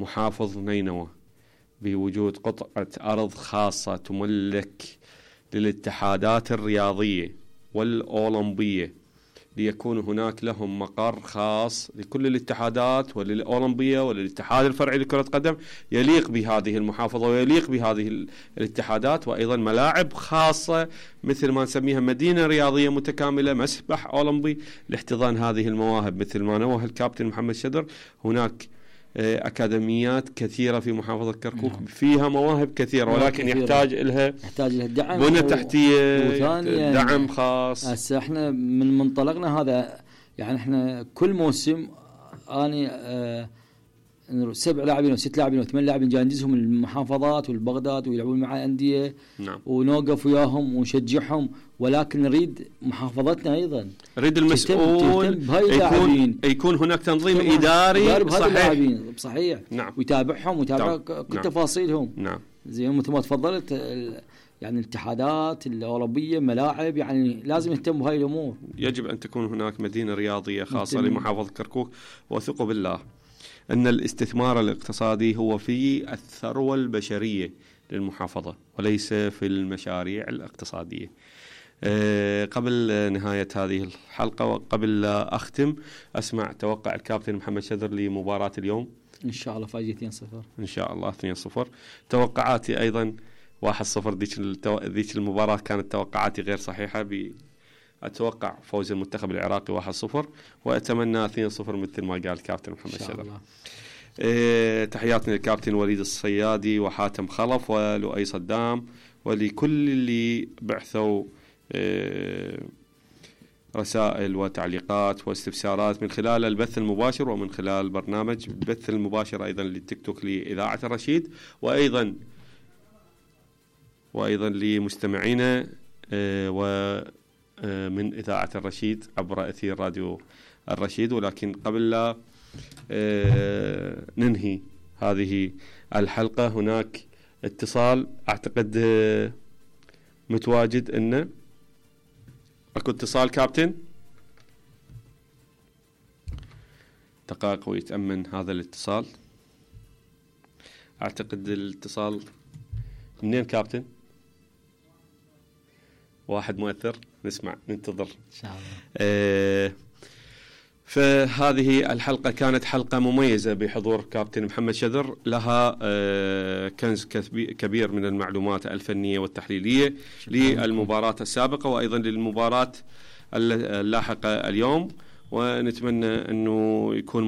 محافظ نينوى بوجود قطعة أرض خاصة تملك للاتحادات الرياضية والأولمبية، ليكون هناك لهم مقر خاص لكل الاتحادات وللأولمبية وللاتحاد الفرعي لكرة قدم يليق بهذه المحافظة ويليق بهذه الاتحادات، وأيضا ملاعب خاصة مثل ما نسميها مدينة رياضية متكاملة، مسبح أولمبي لاحتضان هذه المواهب. مثل ما نوه الكابتن محمد شدر، هناك أكاديميات كثيرة في محافظة كركوك فيها مواهب كثيرة، ولكن يحتاج لها دعم، بنى تحتية، دعم خاص. هسه احنا من منطلقنا هذا، يعني احنا كل موسم اني 7 لاعبين و6 لاعبين و8 لاعبين جاي ندزهم المحافظات والبغداد ويلعبون مع أندية، نعم. ونوقف وياهم ونشجعهم، ولكن نريد محافظتنا ايضا، نريد المسؤول يكون هناك تنظيم اداري صحيح، نعم. ويتابعهم ويتابع كل تفاصيلهم، نعم. زي مثل ما تفضلت، يعني الاتحادات الأوروبية ملاعب، يعني لازم يهتم بهاي الأمور. يجب أن تكون هناك مدينة رياضية خاصة لمحافظة كركوك، وثقوا بالله أن الاستثمار الاقتصادي هو في الثروة البشرية للمحافظة وليس في المشاريع الاقتصادية. قبل نهاية هذه الحلقة وقبل لا أختم، أسمع توقع الكابتن محمد شدر لمباراة اليوم. إن شاء الله فايز 2-0 إن شاء الله 2-0. توقعاتي أيضا 1-0. ذيك المباراة كانت توقعاتي غير صحيحة، أتوقع فوز المنتخب العراقي 1-0، وأتمنى 2-0 مثل ما قال الكابتن محمد شدر. تحياتنا للكابتن وليد الصيادي وحاتم خلف ولؤي صدام ولكل اللي بعثوا رسائل وتعليقات واستفسارات من خلال البث المباشر ومن خلال برنامج البث المباشر أيضا للتيك توك لإذاعة الرشيد، وأيضا لمستمعينا ومن إذاعة الرشيد عبر أثير راديو الرشيد. ولكن قبل لا ننهي هذه الحلقة، هناك اتصال أعتقد متواجد، إنه أكو اتصال كابتن، دقائق ويتأمن هذا الاتصال. أعتقد الاتصال منين كابتن؟ واحد مؤثر، نسمع ننتظر إن شاء الله. فهذه الحلقة كانت حلقة مميزة بحضور كابتن محمد شدر، لها كنز كبير من المعلومات الفنية والتحليلية للمباراة السابقة وأيضا للمباراة اللاحقة اليوم، ونتمنى أنه يكون